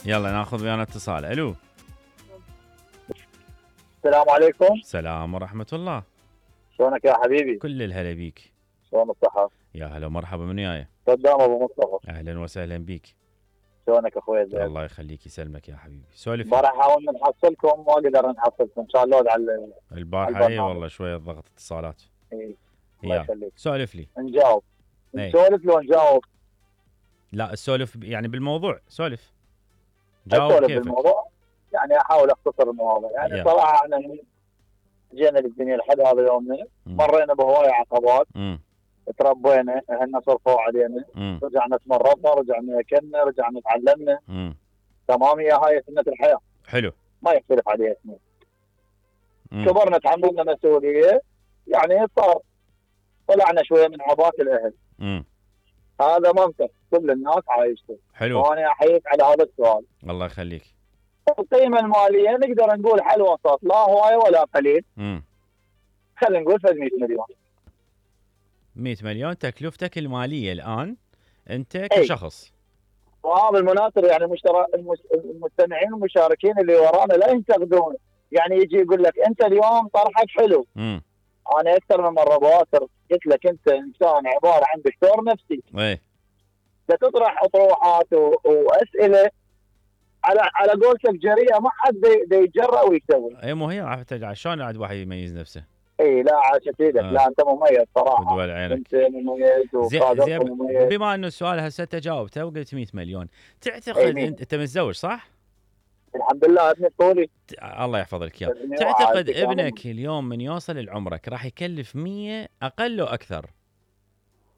يلا ناخذ ويانا اتصال. الو. السلام عليكم. السلام ورحمة الله. شلونك يا حبيبي؟ كل الهلا بيك. شلون الصحة؟ يا هلا ومرحبا، من وياي؟ صدام ابو مصطفى. اهلا وسهلا بيك. شلونك اخوي زين؟ الله يخليك يسلمك يا حبيبي. سولف. امبارح حاولنا نحصلكم ما قدرنا نحصلكم، ان شاء الله على البارحة اي والله شوية ضغط اتصالات. اي الله يخليك. سولف لي. نجاوب. نسولف لو نجاوب؟ لا السولف يعني بالموضوع، سولف. جاوب كيفك. بالموضوع يعني احاول اختصر المواضيع. يعني صراحة احنا جينا للدنيا لحد هذا يومنا، مرينا بهواية عقبات. تربينا، اهلنا صرفوا علينا، رجعنا تمرضنا، رجعنا اكلنا، رجعنا تعلمنا. تمام، يا هاي سنة الحياة. حلو. ما يختلف عليها اثنين. كبرنا تحملنا مسؤولية، يعني صار طلعنا شوية من عباءة الأهل. هذا منطق كل الناس عايشته. حلو. وأنا أحييك على هذا السؤال. الله يخليك. القيمة المالية نقدر نقول حل وسط، لا هواية ولا قليل. خلينا نقول 100 مليون. 100 مليون تكلفتك المالية الآن أنت كشخص. بالمناسبة يعني المستمعين والمشاركين اللي ورانا لا ينتقدون، يعني يجي يقول لك أنت اليوم طرحك حلو. أنا أكثر من مرة بواتر قلت لك أنت إنسان عبارة عن دكتور نفسي. تطرح أطروحات وأسئلة على قولتك جريئة، ما حد يتجرأ ويسوي. اي مو هي شلون عاد واحد يميز نفسه؟ اي لا عاشت ايدك. لا انت مميز صراحه. انت مميز وقادر مميز. بما انه السؤال هسه انت جاوبته وقلت 100 مليون، تعتقد انت متزوج صح؟ الحمد لله ابني طولي. الله يحفظ لك اياه. تعتقد ابنك اليوم من يوصل لعمرك راح يكلف 100 اقل واكثر